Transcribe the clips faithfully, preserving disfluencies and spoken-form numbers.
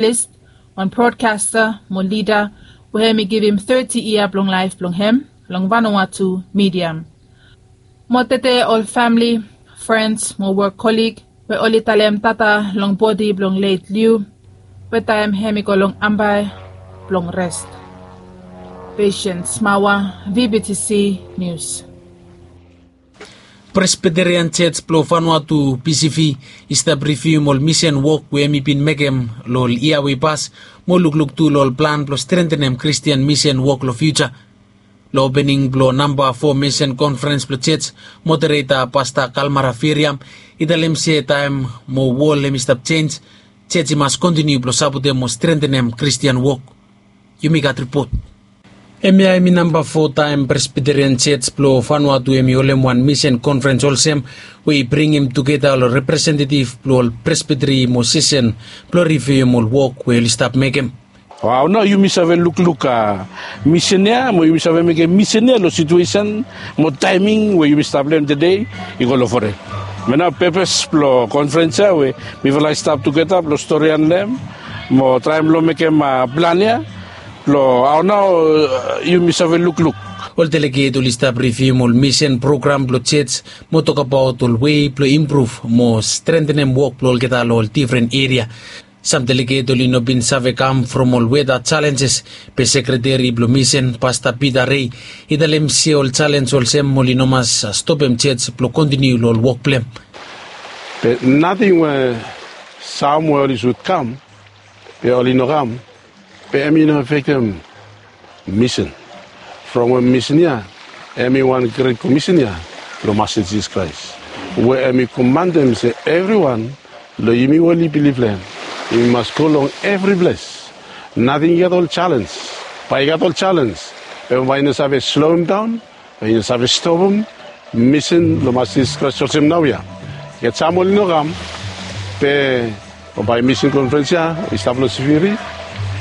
List, wan brodkasta mo lida we hemi givim teti yia blong laef blong hem long Vanuatu midia. Mo tede ol famle, frens mo wok kolig we oli talem tata long bodi blong let Liu, we taem hemi go long ambae blong res. Patience Mawa, V B T C News. Presbyterian Church blong Vanuatu, P C V, i stap rivium ol misen wok we hemi bin mekem long ol yia we i pas, mo lukluk tu long ol plan blong strentenem Kristian misen wok long fiuja. Long opening blong namba fo misen konferens blong church, modereta Pasta Kalmara Firiam i talem se taem mo wol hemi stap jenj, church i mas kontiniu blong sapotem mo strentenem Kristian wok. Yumi gat ripot. Hemia hemi namba fo taem Presbyterian Church blong Vanuatu hemi holem wan misen konferens olsem, we i bringim tugeta ol representetiv blong ol presbiteri mo sesen blong rivium ol wok we oli stap mekem. Wow, nao yumi save lukluk, a, misen ya, mo yumi save mekem misen ya long situesen mo taeming we yumi stap long hem tede, i go long foren. Be nao pepes blong konferens ya we mifala i stap tugeta blong storian long hem mo traem blong mekem, a, plan ya blong hao nao, a, yumi save lukluk. Ol deleget oli stap rivium ol misen program blong church mo tokbaot ol wei blong impruv mo strentenem wok blong olgeta long ol difren eria. Sam deleget oli no bin save kam from ol weta jalenjes, be sekreteri blong misen, Pasta Pita Rei, i talem se ol jalenj olsem oli no mas stopem church blong kontiniu long ol wok blong hem. Be nating we sam we oli sud kam, be oli no kam, be hemi no afektem misen. From we misen ya hemi wan gret komisen ya blong Masta Jisas Kraes, we hemi komantem se evriwan long yumi we oli bilif long hem, yumi mas go long evri ples. Nating i gat ol jalenj. Bae i gat ol jalenj, be bae i no save sloem daon, bae i no save stopem misen blong Masta Jisas Kraes olsem naoia. I gat sam oli no kam, be bambae misen konferens ya i stap long Siviri,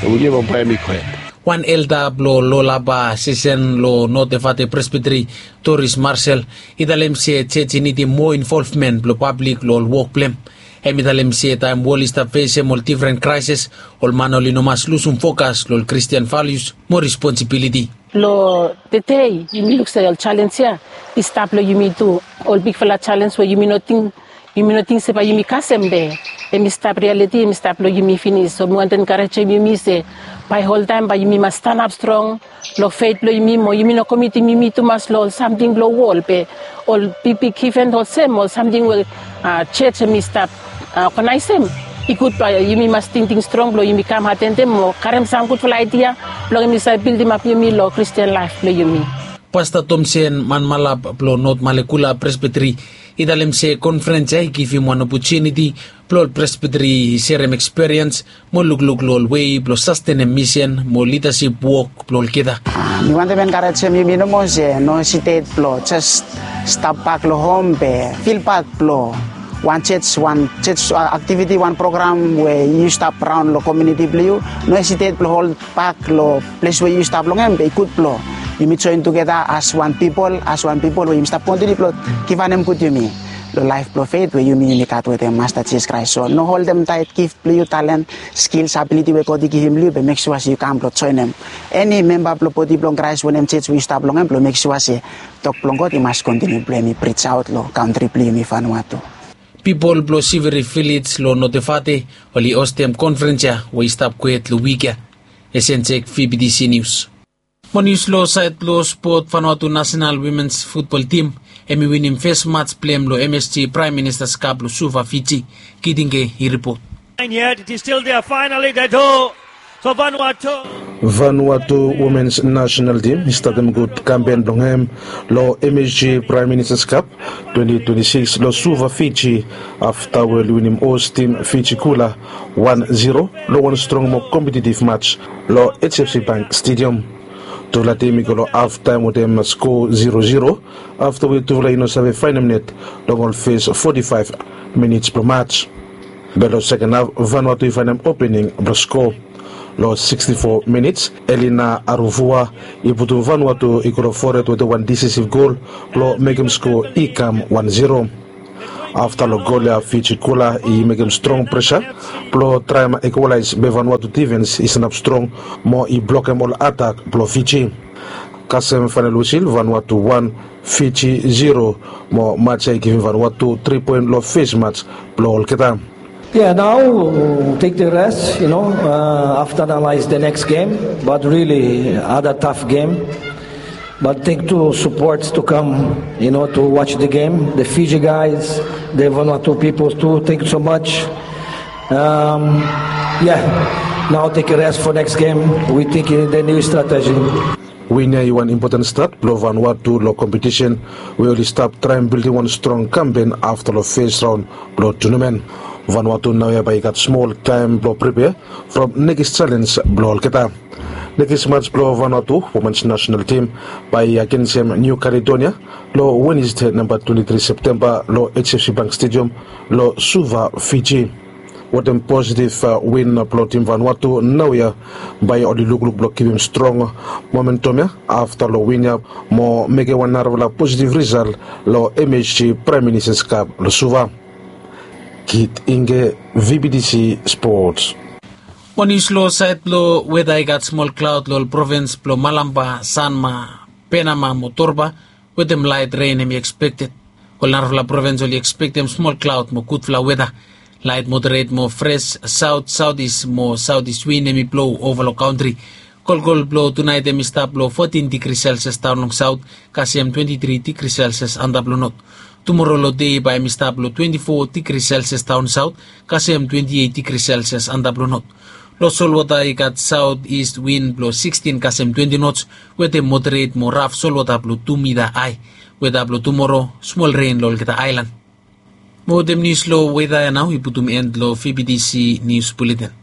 be wik ya bambae hemi gohed. Wan elda blong Lolaba sesen long North Efate Presbytery, Doris Marcel, i talem se church i nidim moa involvmen blong pablik long ol wok blong hem. Hemi talem se taem wol i stap fesem ol difren kraeses, ol man oli no mas lusum fokas long ol Kristian valius mo responsibiliti. Long tede yumi luk se ol jalenj ya i stap long yumi tu. Ol bigfala jalenj we yumi no ting, yumi no ting se bae yumi kasem, be hemi stap rialiti, hemi stap long yumi finis. So mi wantem enkarejem yumi se bae oltaem bae yumi mas stanap strong long fet blong yumi, mo yumi no komitim yumi tumas long ol samting blong wol, be ol bigbig iven olsem, ol samting we, a, church hemi stap, a, oganaesem. I gud bae yumi mas tingting strong blong yumi kam atendem mo karem sam gudfala aedia blong hemi save bildimap yumi long Kristian laef blong yumi. Pasta Tomsen Manmalap blong North Malekula Presbytery i talem se konferens ya i givim wan opotuniti blong ol presbytery i serem eksperiens mo lukluk long ol wei blong sastenem misen mo lidasip wok blong olgeta. A, mi wantem enkarejem yumi nomo se no hesitet blong jes stap bak long hom be fil pat blong wan church, wan church, a, aktiviti, wan program we yu stap raon long komuniti blong yu. No hesitet blong hol bak long ples we yu stap long hem, be i gud blong yumi joen tugeta as wan pipol, as wan pipol we yumi stap kontiniu blong givanem gud yumi long laef blong fet we yumi, yumi gat wetem Masta Jisas Kraes. So no holdem taet gif blong yu, talen, skils, abiliti we God i givim long yu, be mek sua se yu kam blong joenem eni memba blong bodi blong Kraes wetem church we yu stap long hem, blong mek sua se tok blong God i mas kontiniu blong hemi prij aot long kantri blong yumi Vanuatu. Pipol blong Siviri Vilej long North Efate oli hostem konferens ya we i stap gohed long wik ya. Esen Jek, V B T C News. Mo nius long saed blong spot, Vanuatu National Women's Football Team hemi winim fes mats blong hem long M S G Prime Minister's Cup long Suva, Fiji. Kitinge i ripot. And yet it is still there. Finally, they do. So Vanuatu. Vanuatu Women's National Team i statem gud kampen blong hem long M S G Prime Minister's Cup twenty twenty-six long Suva, Fiji, afta we oli winim host team Fiji Kula one zero long wan strong mo kompetitiv mats long H F C Bank Stadium. Tufala tim i go long haftaem wetem sko zero zero, afta we tufala i no save faenem net long ol fes foti faef minits blong mats. Be long seken haf, Vanuatu i faenem opening blong sko. Long siksti fo minits, Elina Aruvua i putum Vanuatu i go long fored wetem wan disisiv gol blong mekem sko i kam wan zero. Afta long gol ya Fiji gola i mekem strong presa blong traem ekualaes be Vanuatu difens i sanap strong mo i blokem ol atak blong Fiji. Kasem faenal wisil, Vanuatu wan, Fiji zero, mo mats ya i givim Vanuatu tri poen long fes mats blong olgeta. Yeah, now take the rest, you know, uh, after analyze the next game, but really other tough game. But thank to support to come, you know, to watch the game. The Fiji guys, the Vanuatu people too. Thank you so much. Um, yeah, now take a rest for next game. We think in the new strategy. Win ya i wan impoten stat blong Vanuatu long kompetisen we oli stap traem bildim wan strong kampen afta long fes raon blong tunamen. Vanuatu naoia bae i gat smol taem blong pripea from nekis jalens blong olgeta. Nekis mats blong Vanuatu womens nasenal tim bae i agensem Niu Kaledonia long Wenesde namba twenti tri Septemba long H F C Bank Stadium long Suva, Fiji. Wetem positiv win blong tim Vanuatu naoia bae oli lukluk blong givim strong momentum ya afta long win ya mo mekem wan narafala positiv risal long M H G Praem Ministas Kap long Suva. Kit Inge, V B T C Sports. Mo nius long saed blong weda i gat smol klaod long ol provins blong Malampa, Sanma, Penama mo Torba, wetem laet ren hem i ekspekted. Ol narafala provins oli ekspektem smol klaod mo gudfala weda. Laet moderet mo fres saot saotis mo saotis win hem i blou ova long kantri. Kolkol blong tunaet hem i stap long fotin digri selsias daon long saot, kasem twenti tri digri selsias antap long not. Tumoro long dei bae hem i stap long twenti fo digri selsias daon saot, kasem twenti eit digri selsias antap long not. Long solwota i gat saot ist win blong sikstin kasem twenti nots, wetem moderet mo raf solwota blong tu mita ae. Weda blong tumoro, smol ren long olgeta aelan. Mo wetem nius long weda ya nao i putum en long V B T C Nius Buleten.